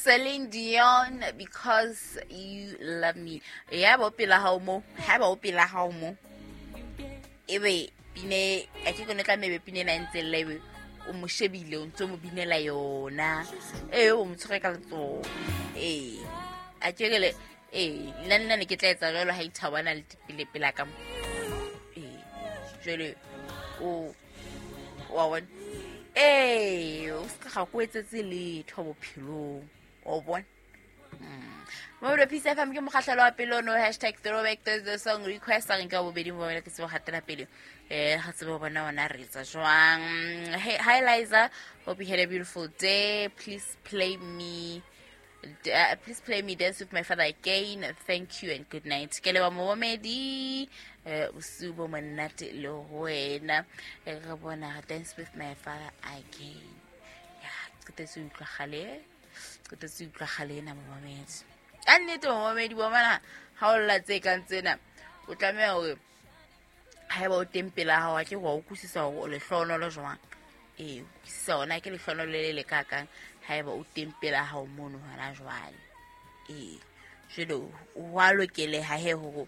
Celine Dion, Because You Love Me. Ya ba o pela hao mo, ha ba o pela hao mo. Ebe pine, a ke kone tla mebe pine na ntse lla ebe o mo shebile o ntse o mo binela yona. Ee, o mo tshwere ka letsoho. Ee. A ke re le ee, nna nna ne ke tla etsa jwalo ha ithabana le pele pela ka mo. Ee. Jwale o wa bona ee o se ga ko etsetse letho bophelong o bona Mobile Peace FM ke mokgahlelo wa pele ono hashtag throwback Thursday song request a re nka bobedi mo ke tsebo gatela pele eh ga tsebo bona ona re etsa jwang. Hey, hi Liza, hope you had a beautiful day. Please play me Dance with My Father again. Thank you and good night. Ke leba momedi bosiu bo monate le ho wena. Re bona Dance with My Father Again. Ya qetetse utlwagale, qetetse utlwagale ena momamedi. Ka nnete momamedi wa mana ha o lla tse kang tsena o tlameha hore haeba o teng pela hao a ke wa utlwisisa hore o lehlohonolo jwang. Ee, utlwisisa hona ke lehlohonolo le le kakang haeba o teng pela hao mono hona jwale. Ee, jwale wa lokeleha he hore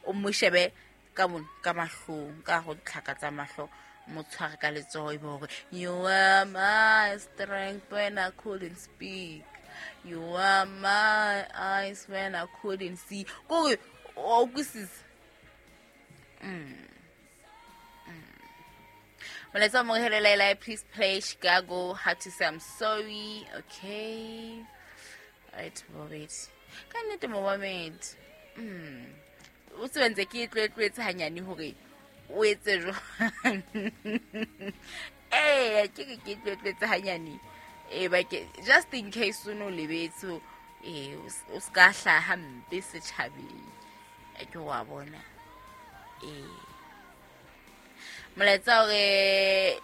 o mo shebe ka mono ka mahlong, ka go tlhaka tsa mahlo, mo tshware ka letsoho e be hore you are my strength when I couldn't speak, you are my eyes when I couldn't see. Kore o utlwisisa. Molaetsa wa Mohele Laila, please play Chicago, How to Say I'm Sorry. Okay. Right, Bobet. Ka nnete momamedi. O tsebe ntse ke tloetlwetse hanyane hore o etse jwang. Ee, ke re ke tloetlwetse hanyane. Ee, ba ke just in case o no lebetse, ee, o ska hlaha hampe setjhabeng. Ke wa bona. Ee. Molaetsa hore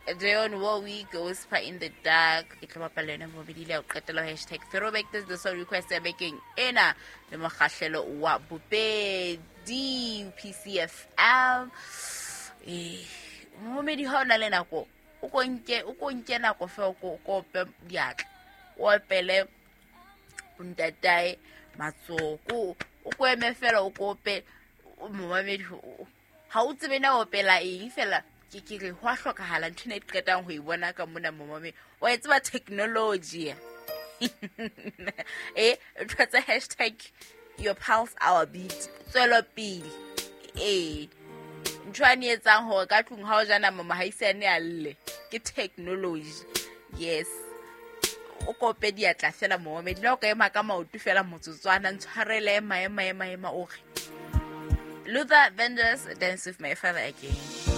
Dionne Warwick, Whisper in the Dark. Ke tlo bapala yona bobedi le ya ho qetela hashtag throwback Thursday song request ya bekeng ena le mokgahlelo wa bobedi PCFM. Momedi ha o na le nako o ko nke, o ko nke nako fe o ko ope diatla, o opele ntatae matsoho, o ko eme fela o ko ope momamedi. Ha o tsebe na opela eng fela, ke ke re ho a hlokahala ntho ena e qetang ho e bona ka mona momamedi. Wa e tseba technology. Ntho tsa hashtag your pulse our beat, tswelopele. Ntho ane etsang hore ka tlung ha o ja nama mohaisane a lle ke technology. Yes, o kope diatla fela momamedi, le o ka ema ka maoto fela motsotswana, ntshwarele, ema, ema, ema, ema, o re Luther Vandross, Dance with My Father Again.